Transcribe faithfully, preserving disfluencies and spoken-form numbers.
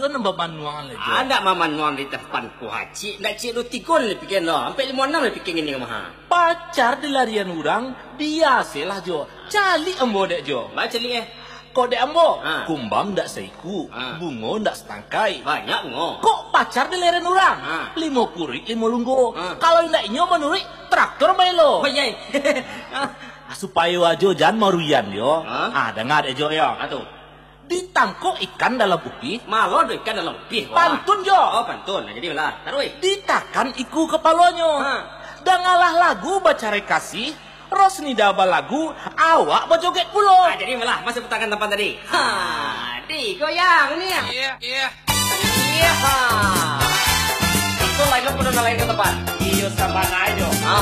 iyo nan bamanuang lai, Jo. Ah, ndak mamanuang di tampek ko, ha. Ciek, ndak ciek duo tigo lai pikian lo. Ampek limo anam lai pikian ini mah, ha. Pacar dilarian urang, biasolah, Jo. Caliak ambo dek, Jo. Ba caliak, eh? Kok dek ambo, ha, kumbang ndak saiku, ha, bungo ndak satangkai. Banyak bungo. Kok pacar dilarian urang? Ha. Limo kuruik, limo lunggo. Ha. Kalau indak inyo manuruik, traktor baelo. Oh, iya. Ah, supayo ajo jan marugian, Jo. Ha? Ah, danga dek, Jo, yo. Ha, tu. Ditangkok ikan dalam upih. Malo do ikan dalam upih, wah. Pantun, Jo. Oh, pantun. Nah, jadi lah. Taruih. Ditakan iku kapalonyo. Ha. Dangalah lagu bacarai kasih, Rosnida balagu, awak bajoget pulo. Ah, jadi lah, masih putakan tampek tadi. Ha, digoyang ni. Iya, iya. Iya, ha. Itu lain lo, pun lain ka tampek. Iyo, sabana ajo. Ha.